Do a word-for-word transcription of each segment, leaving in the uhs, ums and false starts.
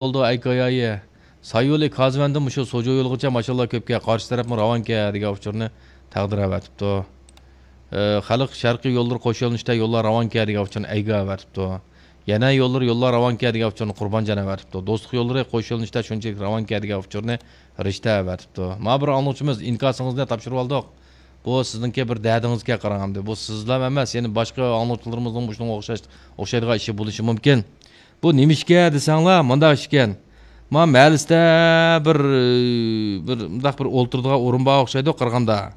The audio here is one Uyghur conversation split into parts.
بولدى ئەي كايايى. سايولى كازۋەندىن مۇشۇ سوجۇ يولىغىچە ماشىنىلار كۆپكەن، قارشى تەرەپمۇ راۋانكەن دېگەن ئۇچۇرنى تەقدىر ئەۋەتىپتۇ. ئى، خەلق شەرقىي يوللىرى قوش يۆنىلىشتە يوللار راۋانكەن دېگەن ئۇچۇرنى ئەيگە ئەۋەتىپتۇ. يەنە يوللىرى يوللار راۋانكەن دېگەن ئۇچۇرنى قۇربانجان ئەۋەتىپتۇ. دوستلۇق يوللىرى قوش يۆنىلىشتە شۇنچىلىك راۋانكەن دېگەن ئۇچۇرنى رىشتە ئەۋەتىپتۇ. مانا بىر ئاڭلىغۇچىمىز، ئىنكاسىڭىزنى تاپشۇرۇۋالدۇق. بۇ سىزنىڭكى بىر دەردىڭىزكەن قاراڭ ئەمدى. بۇ سىزلا ئەمەس، يەنە باشقا ئاڭلىغۇچىلىرىمىزنىڭ مۇشۇنىڭغا ئوخشاش، ئوخشايدىغان ئىشى بولۇشى مۇمكىن. بۇ نېمىشكە دېسەڭلار، مۇنداق ئىشكەن. ما مەھەللىسىدە بىر، بىر مۇنداق بىر ئولتۇرىدىغان ئورۇن بار ئوخشايدۇ قارىغاندا.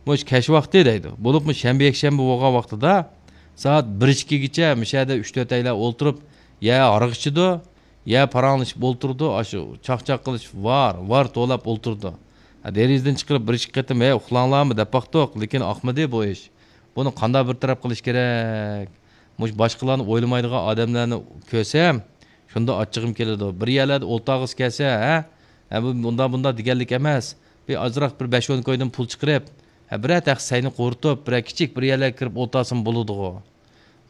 مۇشۇ كەچ ۋاقتى دەيدۇ. بولۇپمۇ شەنبە، يەكشەنبە بولغان ۋاقتىدا سائەت بىر ئىككىگىچە مۇشۇ يەردە ئۈچ تۆت ئەيلەر ئولتۇرۇپ، يە ھاراق ئىچىدۇ، يە پاراڭلىشىپ ئولتۇرىدۇ، ئاشۇ چاقچاق قىلىش ۋار، ۋار توۋلاپ ئولتۇرىدۇ. ھە، دېرىزىدىن چىقىرىپ بىر ئىككى قېتىم، ھەي، ئۇخلاڭلارمۇ دەپ باقتۇق، لېكىن ئاقمىدى بۇ ئىش. بۇنى قانداق بىر تەرەپ قىلىش كېرەك؟ مۇشۇ باشقىلارنى ئويلىمايدىغان ئادەملەرنى كۆرسەم، شۇندا ئاچچىقىم كېلىدۇ. بىر يەرلەردە ئولتۇرغۇسى كەلسە، ھە؟ ھە، بۇ ئۇنداق، بۇنداق دېگەنلىك ئەمەس. بىر ئازراق بىر بەش ئون كويدىن پۇل چىقىرىپ، ھە، بىرەر تەخسە سەينى قۇرۇتۇپ، بىرەر كىچىك بىر يەرلەرگە كىرىپ ئولتۇرسىمۇ بولىدىغۇ.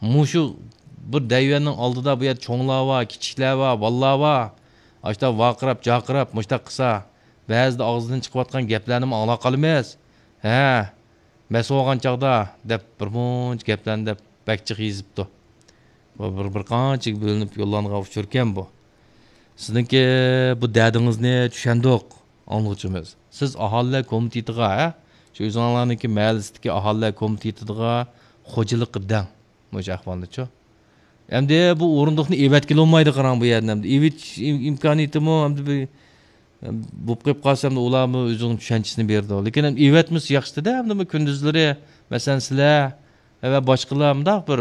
مۇشۇ بىر دەيۋەننىڭ ئالدىدا بۇ يەردە چوڭلار بار، كىچىكلەر بار، بالىلار بار. ئاشۇنداق ۋارقىراپ، جارقىراپ، مۇشۇنداق قىلسا، بەزىدە ئاغزىدىن چىقىۋاتقان گەپلەرنىمۇ ئاڭلاپ قالىمىز. ھە، مەس بولغان چاغدا دەپ بىر مۇنچە گەپلەرنى دەپ بەك جىق يېزىپتۇ. بۇ بىر، بىر قانچىگە بۆلۈنۈپ يوللانغان ئۇچۇركەن بۇ. سىزنىڭكى بۇ دەردىڭىزنى چۈشەندۇق، ئاڭلىغۇچىمىز. سىز ئاھالىلەر كومىتېتىغا، ھە؟ شۇ ئۆزۈڭلارنىڭكى مەھەللىسىدىكى ئاھالىلەر كومىتېتىغا خوجىلىققا دەڭ. مۇشۇ ئەھۋالنىچۇ. ئەمدى بۇ ئورۇندۇقنى ئېۋەتكىلى بولمايدۇ قاراڭ بۇ يەردىن. ئەمدى ئېۋىتىش ئىم-، ئىمكانىيىتىمۇ ئەمدى بىر، بولۇپ قېلىپ قالسا ئەمدى ئۇلارمۇ ئۆزىنىڭ چۈشەنچىسىنى بېرىدۇ. لېكىن ئەمدى ئېۋەتمىسە ياخشىدا، ئەمدى بۇ كۈندۈزلىرى، مەسىلەن، سىلەر ۋە باشقىلار مۇنداق بىر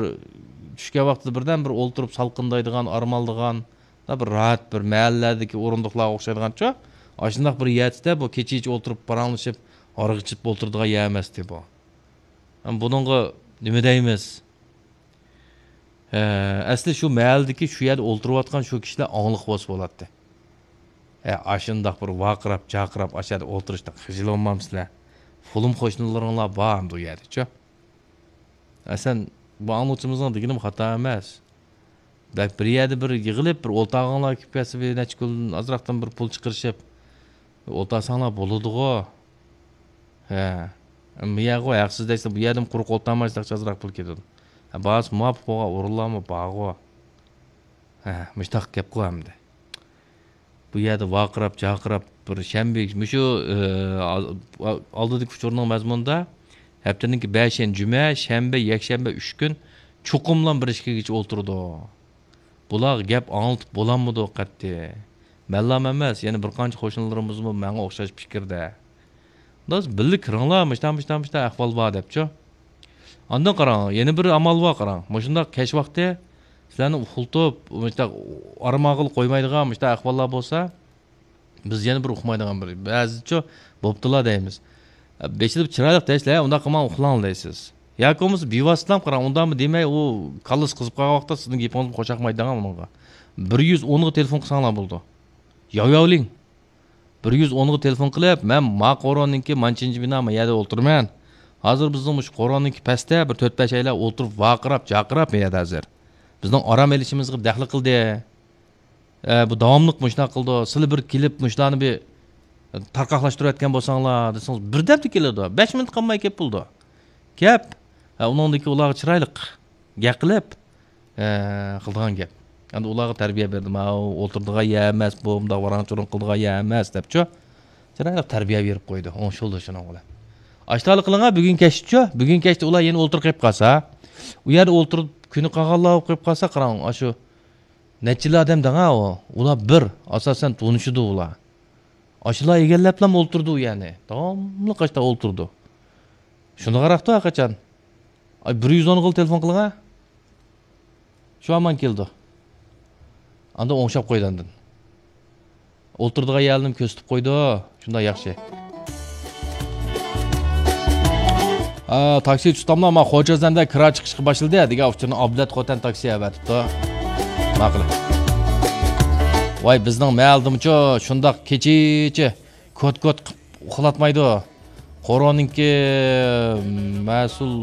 چۈشكەن ۋاقتىدا بىردەم بىر ئولتۇرۇپ سالقىندايدىغان، ئارام ئالىدىغان، بىر راھەت بىر مەھەللىلەردىكى ئورۇندۇقلارغا ئوخشايدىغانچۇ، ئاشۇنداق بىر يەردە بۇ كېچىچە ئولتۇرۇپ پاراڭلىشىپ، ھاراق ئىچىپ ئولتۇرىدىغان يەر ئەمەستى بۇ. بۇنىڭغا نېمە دەيمىز؟ ھە، ئەسلى شۇ مەھەللىدىكى شۇ يەردە ئولتۇرۇۋاتقان شۇ كىشىلەر ئاڭلىق بولسا بولاتتى. ھە، ئاشۇنداق بىر ۋارقىراپ، جارقىراپ ئاشۇ يەردە ئولتۇرۇشتىن خىجىل بولمامسىلەر؟ پۇلۇم قوشنىلىرىڭلار بار ئەمدى ئۇ يەردىچۇ. ئەسلەن بۇ ئاڭلىغۇچىمىزنىڭ دېگىنىمۇ خاتا ئەمەس. بەك بىر يەردە بىر يىغىلىپ، بىر ئولتۇرغانلار كېلىپ كەلسە، بىر نەچچە كۈن ئازراقتىن بىر پۇل چىقىرىشىپ، ئولتۇرساڭلار بولىدىغۇ. ھە. بۇ يەرغۇ ھەقسىز دەيسىلەر، بۇ يەردىمۇ قۇرۇق ئولتۇرمايسىلەر، ئازراق پۇل كېتىدۇ. ھە، بارسا مۇۋاپىق بولغان ئورۇنلارمۇ بارغۇ. ھە، مۇشتاق گەپقۇ ئەمدى. بۇ يەردە ۋارقىراپ، جارقىراپ، بىر شەنبە، مۇشۇ، ئى، ئال-، ئالدىدىكى ئۇچۇرنىڭ مەزمۇنىدا، ھەپتىنىڭكى بەشىنچى جۈمە، شەنبە، يەكشەنبە ئۈچ كۈن چوقۇملا بىر ئىككىگىچە ئولتۇرىدۇ. بۇلارغا گەپ ئاڭلىتىپ بولالمىدۇق قەتئىي. مەنلام ئەمەس، يەنە بىر قانچە قوشنىلىرىمىزمۇ ماڭا ئوخشاش پىكىردە. داس، بىللە كىرىڭلار، مۇشتا، مۇشتا، مۇشتا ئەھۋال بار دەپچۇ. ئاندىن قاراڭ، يەنە بىر ئامال بار قاراڭ. مۇشۇنداق كەچ ۋاقتى سىلەرنى ئۇخلىتىپ، مۇشتا ئارام ئالغىلى قويمايدىغان مۇشتا ئەھۋاللار بولسا، بىز يەنە بىر ئۇقمايدىغان بىر، بەزىچۇ بوپتۇلا دەيمىز. بېشىدا بىر چىرايلىق دەيسىلەر، ئۇنداق قىلماڭ، ئۇخلاڭ دەيسىز. ياكى بولمىسا بىۋاسىتىلا قاراڭ، ئۇنداقمۇ دېمەي، ئۇ كاللىسى قىزىپ قالغان ۋاقىتتا سىزنىڭ گېپىڭىزمۇ قوشاقمايدىغان ئۇنىڭغا. بىر يۈز ئونغا تېلېفون قىلساڭلار بولىدۇ. ياۋياۋلىڭ. بىر يۈز ئونغا تېلېفون قىلىپ، مەن ما قورۇننىڭكى مانچىنچى بىنا ما يەردە ئولتۇرىمەن. ھازىر بىزنىڭ مۇشۇ قورۇننىڭكى پەستە بىر تۆت بەش ئەيلەر ئولتۇرۇپ ۋارقىراپ، جارقىراپ ما يەردە ھازىر. بىزنىڭ ئارام ئېلىشىمىزغا دەخلى قىلدى. ئە، بۇ داۋاملىق مۇشۇنداق قىلىدۇ. سىلى بىر كېلىپ مۇشۇلارنى بىر تارقاقلاشتۇرۇۋەتكەن بولساڭلار دېسىڭىز، بىردەمدە كېلىدۇ. بەش مىنۇت قالماي كېلىپ بولىدۇ. كەپ، ئە، ئۇنىڭدىكى ئۇلارغا چىرايلىق گەپ قىلىپ، ئە، قىلىدىغان گەپ. ئەمدى ئۇلارغا تەربىيە بەردىم. ھاۋ، ئولتۇرىدىغان يەر ئەمەس بۇ، مۇنداق ۋاراڭ-چۇرۇڭ قىلىدىغان يەر ئەمەس دەپچۇ. چىرايلىق تەربىيە بېرىپ قويدى. ئوڭشىلدى شۇنىڭ بىلەن. ئاشتالا قىلىڭا، بۈگۈن كەچتىچۇ. بۈگۈن كەچتە ئۇلار يەنە ئولتۇرۇپ قېلىپ قالسا، ئۇ يەردە ئولتۇرۇپ كۈنى قالغانلار بولۇپ قېلىپ قالسا، قاراڭ، ئاشۇ نەچچىلا ئادەم دەڭا ئۇ. ئۇلار بىر، ئاساسەن تونۇشىدۇ ئۇلار. ئاشۇلار ئىگىلەپلا ئولتۇرىدۇ يەنى. داۋاملىق ئاشتا ئولتۇرىدۇ. شۇنداق قاراقتۇ ھەرقاچان. ئاي، بىر يۈز ئونغىلا تېلېفون قىلىڭا. شۇ ھامان كېلىدۇ. ئاندىن ئوڭشاپ قويىدۇ ئاندىن. ئولتۇرىدىغان يەرلىرىنى كۆرسىتىپ قويىدۇ. شۇنداق ياخشى. ئا، تاكسى تۇتاملا، ما خوجازەندە كىرا چىقىشقا باشلىدى دېگەن ئۇچۇرنى ئابلەت خوتەن تاكسى ئەۋەتىپتۇ. ماقۇل. ۋاي، بىزنىڭ مەھەللىدىمۇچۇ شۇنداق كېچىچە كوت-كوت قىپ ئۇخلاتمايدۇ. قورۇنىڭكى مەسئۇل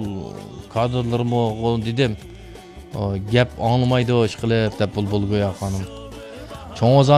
كادىرلىرىمۇ دېدىم، گەپ ئاڭلىمايدۇ ئىشقىلىپ دەپ بۇلبۇل گويا خانىم. چوڭ ئوزان